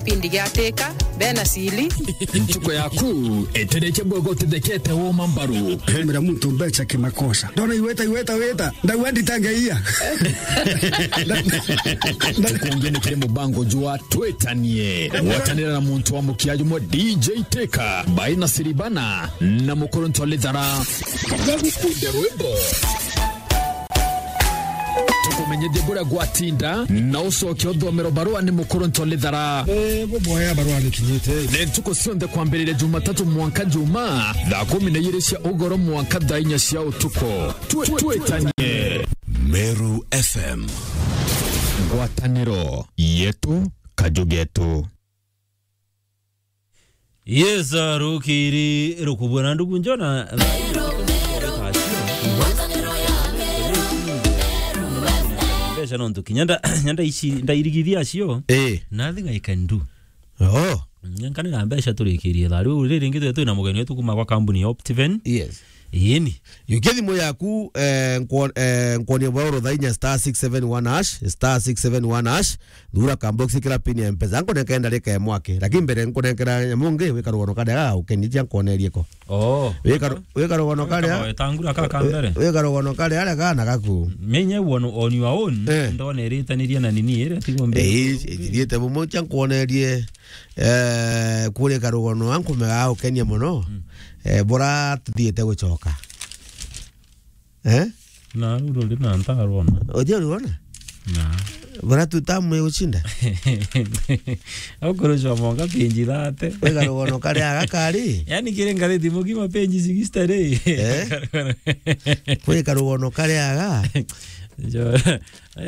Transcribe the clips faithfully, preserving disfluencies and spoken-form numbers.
Pindi giatika, bena sili. Ntuko yaku, etereche bwego utithekete woma mbaru. Hemera muntu mbecha kimakosa. Ndona iweta, iweta, weta. Ndauga nditangeia. Tukungi ni kiri mubango jwa Twitanie. Gwatanira na muntu wa mukia jumwe D J Teka, Baina Siribana, na Mukuru Ntolithara. Bagukunde rwimbo. Tukumenyithie buria gwatinda, na ucoke uthomero barua ni Mukuru Ntolithara. Eh, buboya barua nikinyite. Ni ntuku cionthe kwambiriria Jumatatu mwanka Juma, thaa kumi na ijiri cia ugoro mwanka thaa inya cia utuku. Twi-, twitanie. Meru F M. Ngwataniro yetu, kaju getu. Yes, uh, rukiri rukubwa na ndugu njona. Mbeca no ntuki. Nyanda, nyanda ici, ndairigithia acio. Eh. Nothing I can do. Oh. Nyankanira mbeca turikirie thaa. Riu riri ringi twi na mugeni wetu kuma kwa kambuni ya Optiven. Yes. Ii ni. Yukia thimu yaku, eh, nkwo-, eh, nkwonie bwauro thaa inya star six seven one hash, star six seven one hash, thura kambox kira pin ya Mpesa. Nkunenka ndarika ya mwake. Lakini mbere nkunenkera nyamu ngi, wika rugono karia ga ukeni cia nkwonerie ko. Oh. Wika ru-, wika rugono karia. Wetangura ka ka mbere. Wika rugono karia aria kana gaku. Menye on, on your own, eh, ndona iritanirie na nini iria tigwo mbere. Eh, ithiriite bumwe cia nkwonerie. Eh, kurika rugono ankumega ukenia muno. Mm. Eh, bora tuthiite gucoka. Eh? Na ruru ri na ntarona. Uthi urona? Na. Bora tu tamu ya ushinda. Ukurusha monga pinji thate. Wega rugono karia aga kari. Yani kire ngathiti mugima pinji sixty ri. Eh? Kwika rugono karia aga. Jo.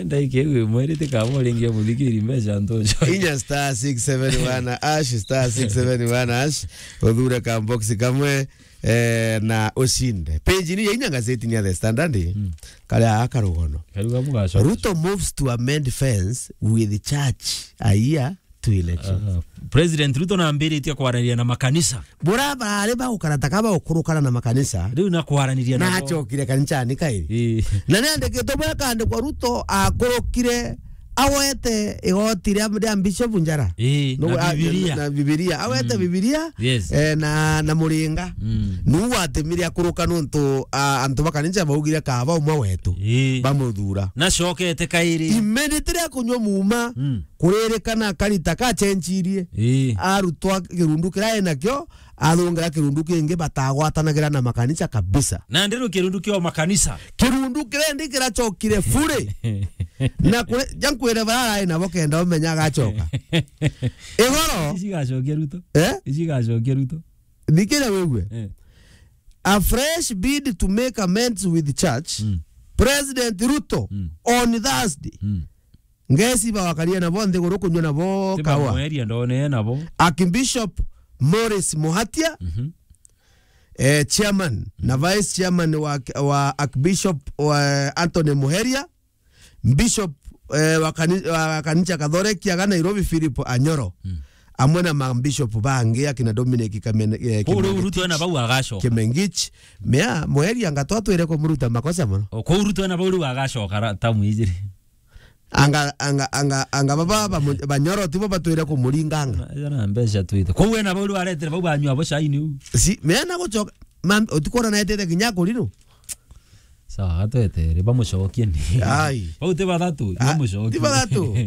Ndaike iwe mweri tikamo ringi muthikiri mbeca ntojo. Inya star six seven one hash, star six seven one hash. Uthure ka box kamwe. Eh, na ushinde. Page ni ya inya gazeti ni ya The Standard. Mm. Karia aga karugono. Karuga bugacoka. Ruto moves to amend fence with church a year to election. Ah, President Ruto nambiritie kwaraniria na makanisa. Bura bari bagukara ta kaba ukurukana na makanisa. Riu na kwaraniria na nabo. Acokire kanisani kairi. Ii. Na ni andikitwe bwekandikwa Ruto akurukire awete igoti ria, ria Bishop Njara. Ii, no, na a, Bibilia. Na, na Bibilia. Awete, mm, Bibilia, yes, eh, na, na muringa. Mm. Nu watemire akuruka nontu, a, antu ba kanisa baugire kaba umwe wetu. Ii. Bamuthura. Na cokete kairi. Immediately akunywa muma, mm, kuririkana karita kachenjirie. Ii. Arutwa kirundu kiria enakio, athongera kirundu kingi batagwatanagira na makanisa kabisa. Na ndiru kirundu kio makanisa. Kirundu kirendi kiracokire fure. Na kure, ja nkwire bara arai nabo kenda umenya agacoka. Igoro. Ici igacokia Ruto. Eh? Ici igacokia Ruto. Thikira wigue. Eh. A fresh bid to make amends with church. Mm. President Ruto, mm, on Thursday. Mm. Ngesi bawakaria nabo nthiguru kunywa nabo kawa. Mweria ndone nabo. Archbishop Morris Muhatia, mhm, eh, chairman, mhm, na vice chairman wa, wa Archbishop wa Anthony Muheria, Bishop, eh, wa kani-, wa kanisa Kathoreki aga Nairobi Philip Anyoro, mm, amwe na mabishop bangi akina Dominic Kamen-, eh, kuu riu Kimengetich, Ruto ena bau agacoka. Kimengich, mea Muheria ngatwa twire kumuruta makosa mono. O, kuu Ruto ena bau riu agacoka ra-, tamu ijiri. Anga, anga, anga, anga baba ba mu-, Banyoro tibo batwire kumuringanga. Na, na mbeca twite. Kou ena bau riu aretire bau banyua bo cai niu. Si, mena gucoka, mam-, utikona na etete kinya kurino. Sawa, atwetere, bamucokie ni. Ai. Bau ti bathatu, ah, bamucokie. Ti bathatu.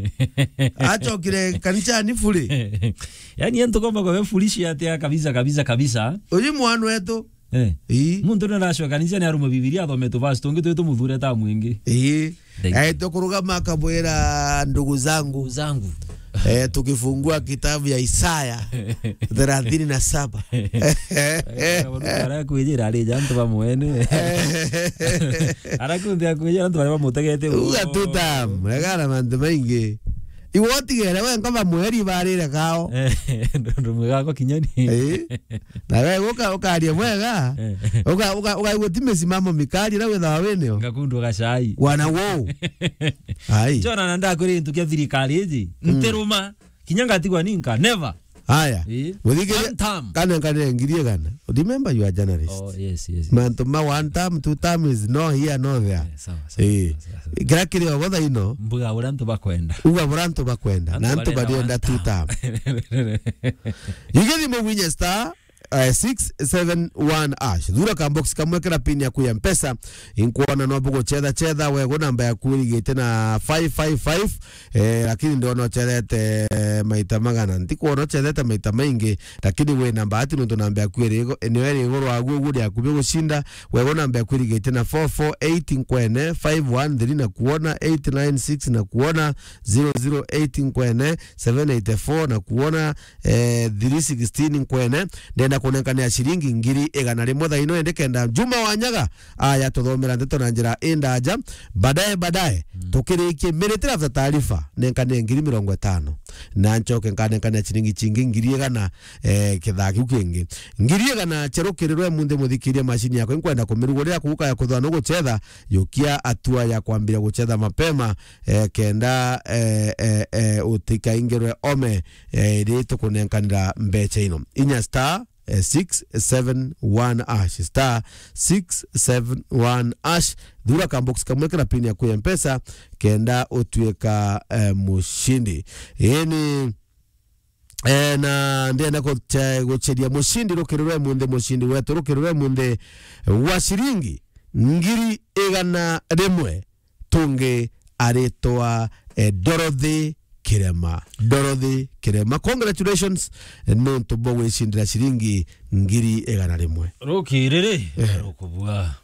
Acokire kanisani fure. Yani, antu komba kwa foolish atia kabisa, kabisa, kabisa. Uyu mwana wetu, eh. Ii. Muntu ni aracoka kanisa ni arume Bibilia athome tu verse tungi twi tumuthure ta mwingi. Ii. Thank you. Eh, tukurugama akabwira, ndugu zangu. Ndugu zangu. Eh, tukifungua kitabu ya Isaya thelathini na saba. Arakwijira ari ja antu bamwene. Arakunthi akwijira antu baria bamutegete. Uga tu tam, regara mantu maingi. Iwe utigere we nkoma mweri barire kao. Eh, ndumwe gako kinyani. Eh. Na we uka-, ukaria bwega. Eh. Uka-, uka-, ukaigua ti misimamo mikari na withawa winio. Ngakundwa gacai. Wana wou. Ai. Jona na ndakwire gintu kia thirikari iji. Mm. Ntiruma. Kinya ngatigwa ninka. Never. Aya. Eh? Muthikiri-, one term. Kana, kana ngiri igana. Remember you are journalist. Oh, yes, yes, yes. Mantu ma one term, two term is no here, no there. Eh, sawa, sawa, eh, sawa, sawa, sawa. Kira kiri obo thaino. Mbuga uria antu bakwenda. Uga uria antu bakwenda. Na antu barienda two term. Igithimo winye star, eh, six seven one hash. Thura ka box kamwe kira pin yaku ya Mpesa. Inkwona no buguchetha chetha, wego namba yaku irigite na five five five. Eh, lakini ndona uchethete maita magana. Ntikwona uchethete maita maingi, lakini wina mbati nontu namba yaku iri igo-, niyo iri iguru wagu, uguo iri akubi gucinda. Wego namba yaku irigite na four four eight nkwene, five one three na kuona, eight nine six na kuona, zero zero eight nkwene, seven eight four na kuona, eh, three sixteen nkwene. Ndenda kunenkanira ciringi ngiri igana rimwe thaa ino, indi kenda Juma Wanyaga aya tuthomera ndeto na njira indaja. Baadaye, baadaye, mm, tukirikie minute after taarifa, nenkanire ngiri mirongo itano. Na nchoke nkanenkania ciringi cingi ngiri igana, eh, kithaa kiu kingi. Ngiri igana cia rukirirwe munthi muthikirie macini yakwa, inkwenda kumirugurira kuuka ya kuthwa no guchetha, yukia atua ya kwambira guchetha mapema, eh, kenda, eh, eh, eh, utikaingirwe ome, eh, iri tukunenkanira mbecha ino. Inya star, eh, six seven one hash, star six seven one hash. Thura ka box kamwe kira pin yaku ya Mpesa, kenda utuika, eh, mushindi. Ii ni, eh, na ndenda guche-, gucheria mushindi rukiri rwe munthi, mushindi wetu rukiri rwe munthi wa ciringi ngiri igana rimwe. Tungi aritwa, eh, Dorothy Kirema. Dorothy Kirema. Congratulations, eh, nontu bwa gwicindira ciringi ngiri igana rimwe. Rukiri ri, eh, rukubua.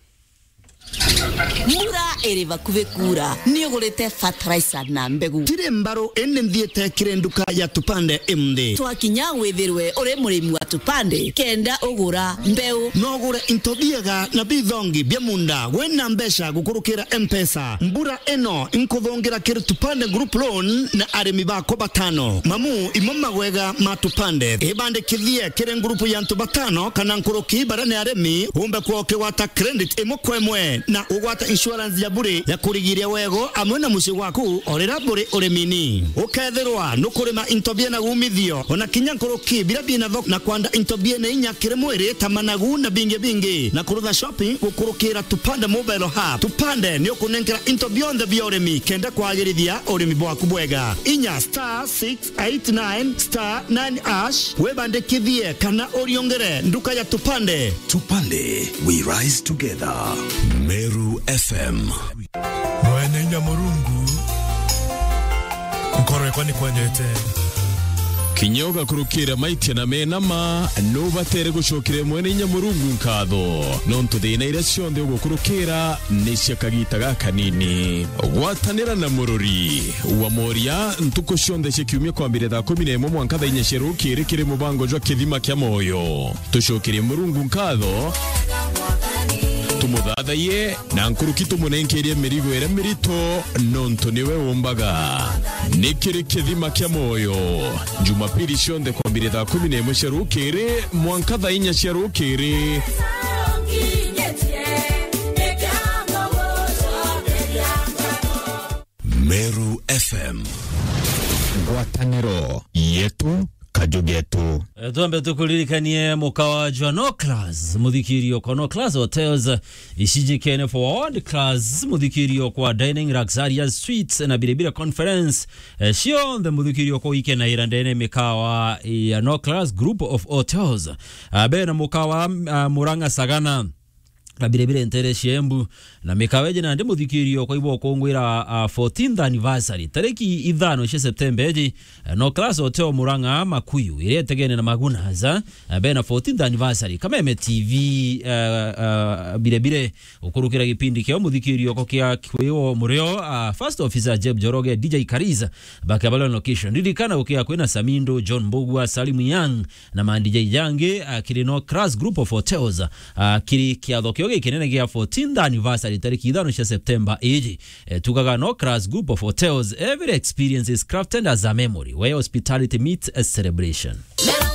Mbura iri bakuvi kuura, ni ugurite fertilizer na mbegu? Tiri mbaru, indi nthiite kiri nduka ya Tupande imthi. Twakinya withirwe uri murimi wa Tupande, kenda ugura mbeu. No ugure into biega na bithongi bia munda wina mbeca gukurukira Mpesa. Mbura ino inkuthungira kiri Tupande Group Loan na arimi bakwa batano. Mamu imo magwega ma Tupande. Ibandikithie kiri ngurupu ya antu batano kana nkuruki baria ni arimi, umbe kwa ukigwata credit imwe kwa imwe na ugwata insurance ya bure ya kurigiria wego amwe na mucii waku o riria buri urimini. Ukethirwa nukurima into biena umithio, ona kinya nkuruki biria biena thoko, na kwanda into biena inya kiri mwiri ta managu na bingi bingi, na kurutha shopping gukurukira Tupande Mobile Hub. Tupande ni ukunenkera into bionthe bia urimi kenda kwagirithia urimi bwaku bwega. Inya star six eight nine star nine hash, wibandikithie kana uriongere nduka ya Tupande. Tupande, we rise together. Meru F M. Mwene inya Murungu, nkoro yakwa ni kwendete. Kinya ugakurukira maitia na mena ma, nubatere gucokeria Mwene inya Murungu nkatho, nontu thina iria cionthe ugukurukira ni cia kagita gakanini. Gwatanira na murori wa moria ntuku cionthe cia kiumia kwambiria thaa kumi na imwe mwanka thaa inya cia rukiri kiri mubango jwa Kithima kia Moyo. Tucokerie Murungu nkatho, tumuthathaiye, na nkuruki tumunenkerie mirigo iria mirito, nontu niwe umbaga. Ni kiri Kithima kia Moyo, Jumapili cionthe kwambiria thaa kumi na imwe cia rukiri mwanka thaa inya cia rukiri. Meru F M. Ngwataniro yetu, kaju getu. Eh, twambe tukuririkanie mukawa jwa No Class, muthikirio kwa No Class Hotels, ici jikene for World Class, muthikirio kwa Dining Luxurious Suites na Biribira Conference, eh, cionthe muthikirio kwa wikenaira ndene mikawa ya No Class Group of Hotels. Ah, be na mukawa, ah, Murang'a Sagana. Na biribire ntere cia Embu, na mikawa iji nandi muthikirio kwa ibo kungwira, ah, fourteenth anniversary. Tariki ithano cia Septemba iji, eh, No Class Hotel Murang'a Makuyu, iria itegene na Magunas, eh, bena fourteenth anniversary. Kameme T V, eh, eh, biribire, ukurukira gipindi kiao muthikirio ko kia Kwiwo Murio, ah, First Officer Jeb Joroge, D J Kariz, bakabalo location. Ririkana gukia kwina Samindo, John Mbugua, Salim Young, na ma D J jangi, ah, kiri No Class Group of Hotels, ah, kiri kiatho kio gikinene gia fourteenth anniversary tariki ithano cia Septemba iji. Eh, tugaga No Class Group of Hotels, every experience is crafted as a memory where hospitality meets a celebration.